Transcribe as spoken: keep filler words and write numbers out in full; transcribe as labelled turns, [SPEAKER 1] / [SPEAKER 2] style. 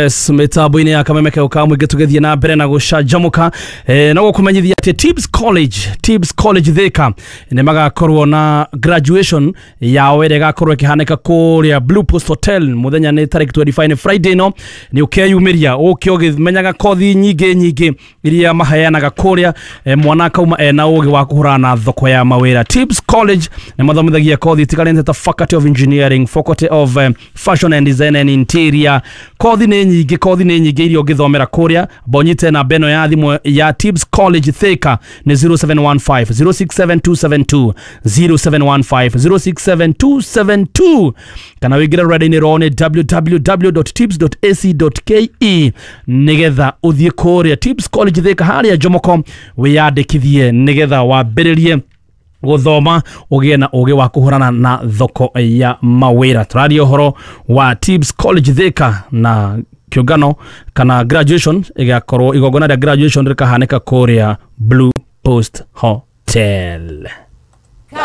[SPEAKER 1] Yes, mitambo-inĩ ya Kameme keo ka mũingĩ tũgĩthiĩ na mbere na gũcanjamũka. eh, no gũkũmenyithia atĩ Tibbs College, Tibbs College Thika nĩ magakorwo na graduation yao ĩrĩa ĩgakorwo ĩkĩhanĩka kũrĩa Blue Post Hotel. Mũthenya nĩ tarĩki mĩrongo ĩĩrĩ na ithano, nĩ Friday. No nĩ ũkeyumĩria ũke ũgĩmenyaga kothi nyingĩ nyingĩ iria maheanaga kũrĩa. eh, mwana akauma ena ũgĩ wa kũhũrana na thoko ya mawĩra. Tibbs College nĩ mathomithagia kothi itiganĩte ta Faculty of Engineering, Faculty of um, Fashion and Design and Interior. Kothi nĩ nyingĩ, kothi nĩ nyingĩ iria ũngĩthomera kũrĩa. Bonyite namba ĩno ya thimũ ya Tibbs College Thika nĩ zero seven one five zero six seven two seven two, zero seven one five zero six seven two seven two, kana wĩingĩre rũrenda-inĩ rwao nĩ w w w dot tibs dot a c dot k e nĩgetha ũthiĩ kũrĩa Tibbs College Thika harĩa Jomoko wĩyandĩkithie nĩgetha wambĩrĩrie gũthoma ũgĩe na ũgĩ wa kũhũrana na thoko ya mawĩra. Tũraria ũhoro wa Tibbs College Thika na kĩũngano kana graduation ĩgakorwo, igongona rĩa graduation rĩkahanĩka kũrĩa Blue Post Hotel.